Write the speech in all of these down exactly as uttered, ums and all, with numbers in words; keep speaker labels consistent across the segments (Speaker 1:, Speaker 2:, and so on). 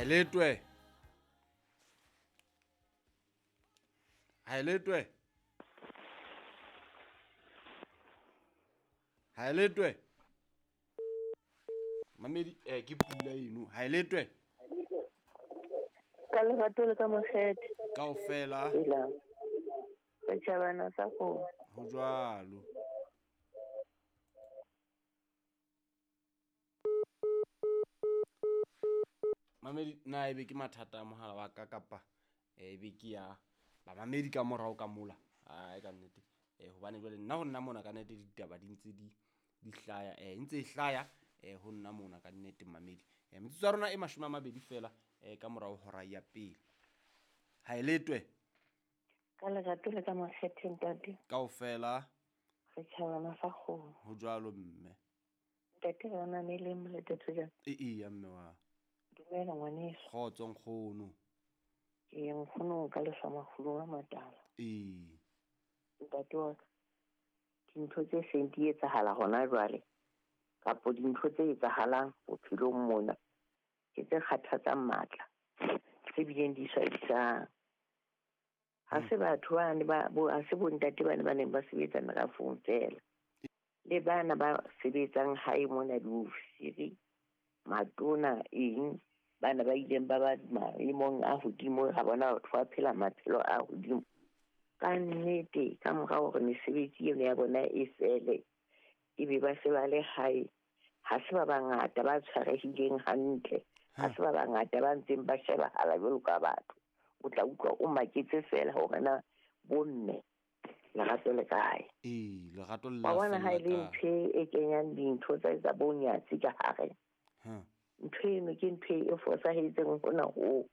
Speaker 1: Haeletwe. Haeletwe. Haeletwe. Mamedi eh ke pula eno. Haeletwe.
Speaker 2: Ka lerato le ka mokgethe.
Speaker 1: Kaofela.
Speaker 2: Setjhabana sa kgomo.
Speaker 1: Ho jwalo. Mamedi na ebe ke mathata a mohala wa ka kapa ebe ke ya bamamedi ka morao ka mola. Ai ka nnete. Eh hobane jwale nna ho nna mona ka nnete ditaba di ntse di di hlaya eh ntse e hlaya eh ho nna mona ka nnete mamedi. Eh metsotso ya rona e mashome a mabedi fela eh ka morao hora ya pele. Haeletwe.
Speaker 2: Ka lerato le ka mokgethe ntate.
Speaker 1: Kaofela.
Speaker 2: Setjhabana sa kgomo.
Speaker 1: Ho jwalo mme.
Speaker 2: Ntate re mamele moletetso jang?
Speaker 1: E e ya mme wa.
Speaker 2: Dumela ngwaneso.
Speaker 1: Kgotso nkgono.
Speaker 2: Ke nkgono ka lefa makgolo a matala.
Speaker 1: Ee.
Speaker 2: Ntate wa ka, dintho tse seng di etsahala hona jwale kapo dintho tse etsahalang bophelong mona ke tse kgathatsang matla, tse bileng di swabisang. Ha se batho bane ba bo ha se bontate bane ba neng ba sebetsa merafong feela, le bana ba sebetsang hae mona diofisiri, matona eng, bana ba ileng ba ba maemong a hodimo, ha bona batho ba phela maphelo a hodimo. Ka nnete ka mora hore mesebetsi eno ya bona e fele, ebe ba se ba le hae, ha se ba bangata ba tshwarehileng hantle, ha se ba bangata ba ntseng ba shebahala jwalo ka batho. O tla utlwa o maketse fela hore na bomme lerato le kae.
Speaker 1: Ee, lerato le
Speaker 2: Wa bona
Speaker 1: la
Speaker 2: ha e
Speaker 1: fella
Speaker 2: le
Speaker 1: kae.
Speaker 2: ntho e kenyang dintho tsa tsa bonyatsi ka hare.
Speaker 1: Ha.
Speaker 2: Ntho eno ke ntho e fosahetseng hona hoo.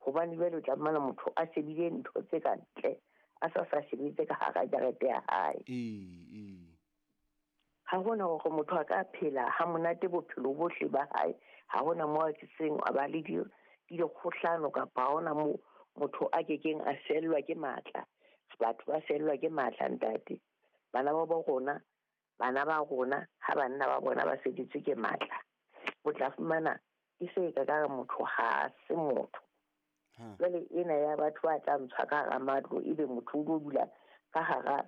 Speaker 2: Hobane jwale o tla fumana motho a shebile ntho tse ka ntle, a sa sa shebile ka hara jarete ya hae.
Speaker 1: Ee, ee.
Speaker 2: Ha hona hore motho a ka phela ha monate bophelo bohle ba hae, ha hona moo a seng a ba le di dikgohlano kapa ha hona moo motho a kekeng a fellwa ke matla. Batho ba fellwa ke matla ntate. Bana ba bo rona, bana ba rona ha banna ba bona ba feditswe ke matla, o tla fumana e se ka ka motho ha se motho.
Speaker 1: Ha.
Speaker 2: Jwale ena ya batho ba tla ntshwa ka hara matlo, ebe motho o lo dula ka hara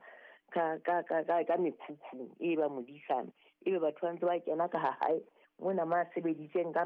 Speaker 2: ka ka ka ka ka mekhukhung e ba modisana, ebe batho ba ntse ba kena ka ha hae mona ma sebeditseng ka